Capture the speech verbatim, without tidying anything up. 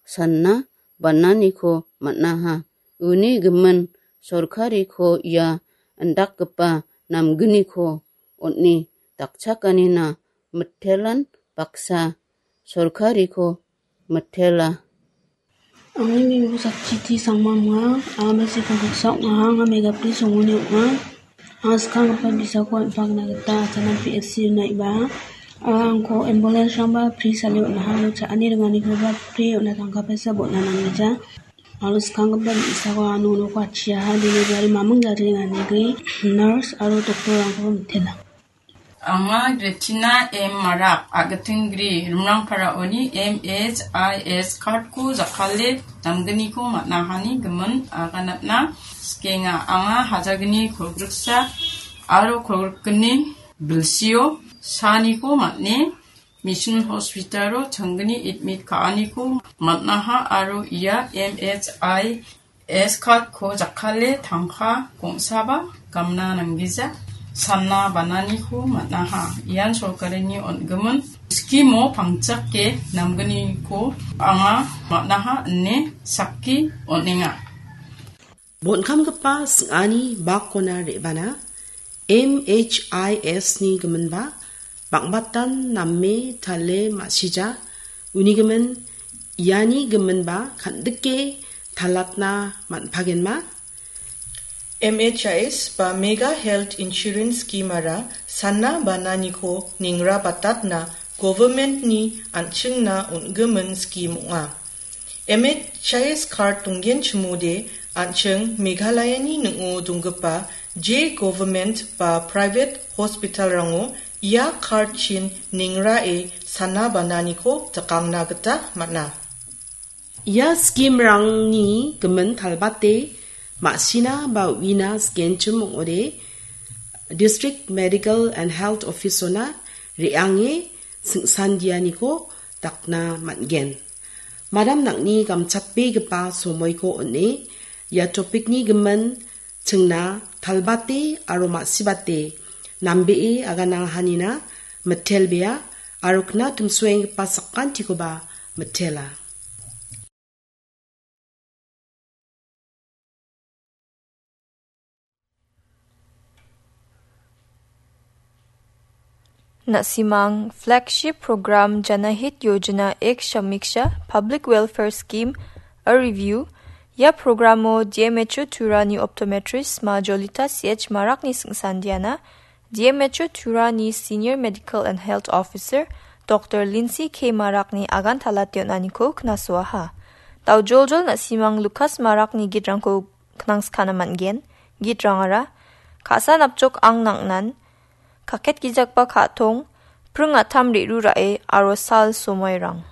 sanna bananiko man·aha. Uni gimin sorkariko ia indakgipa namgniko on·e dakchakanina mitelan baksa sorkariko mitela. Angni mingko sakchiti sangma ong·a. Anga Mesiko Kuksa ong·a. Anga Megapri songoni ong·a. Anga skanggipa bisako on·pakna gita Achana P H C unaiba. Anga angko ambulance-rangba pri sale on·aha. Aro cha·ani ringanikoba pri on·na tangka paisa bon·a nanggija. Aro skanggipa bi·sako anga nonoko atchiaha, delivery maming jari nganigi nurse aro doctor-rangkoba mitela. Anga Retina M Marak, Agitinggri, Rimrangparaoni M H I S card-ko jakkale namgniko man·ahani gimin aganatna sikenga. Anga hajalgni kolgriksa aro kolgrikgni bilsio saniko man·e Mission Hospital-o changgni admit ka·aniko man·aha aro ia M H I S card-ko jakkale tangka gongsaba gamna nanggija, sanna bananiko man·aha. Ian sorkarini on·gimin scheme-o pangchake namgniko anga man·aha ine sakki on·enga. Bonkamgipa sing·ani bakona re·bana M H I S-ni giminba bang·batan name tale ma·sija. Uni gimin iani giminba kan·dike talatna man·pagenma. M H I S ba Mega Health Insurance Scheme-ara sanna bananiko ningra batatna government-ni an·chingna on·gimin scheme ong·a. M H I S card donggenchimode an·ching Meghalayani ning·o donggipa je government ba private hospital-rango ia card-chin ningrae sana bananiko jakangna gita man·a. Ia scheme-rangni gimin talbate ma·sina ba uina sikenchim ong·ode District Medical and Health Office-ona re·ange sing·sandianiko dakna man·gen. Madam nang·ni gamchatbegipa somoiko on·e ia topikni gimin chingna talbate aro ma·sibate nambee agana hanina mitelbea aro kna tumsoenggipa sakantikoba mitela. Na·simang Flagship Program Janahit Yojana Ek Samiksha Public Welfare Scheme, a review. Ia programo D M H O Turani Optometrist ma Jolita C H Marakni sing·sandiana, D M H O Turani Senior Medical and Health Officer Doctor Lindsay K Marakni agan talate on·aniko knasoaha. Daojoljol na·simang Lukas Marakni gitrangko knangskana man·gen. Gitrangara, ka·sa napjok ang nang·nan, kaket gijakba ka·tong, pring a·tam re·ru ra·e aro sal somoirang.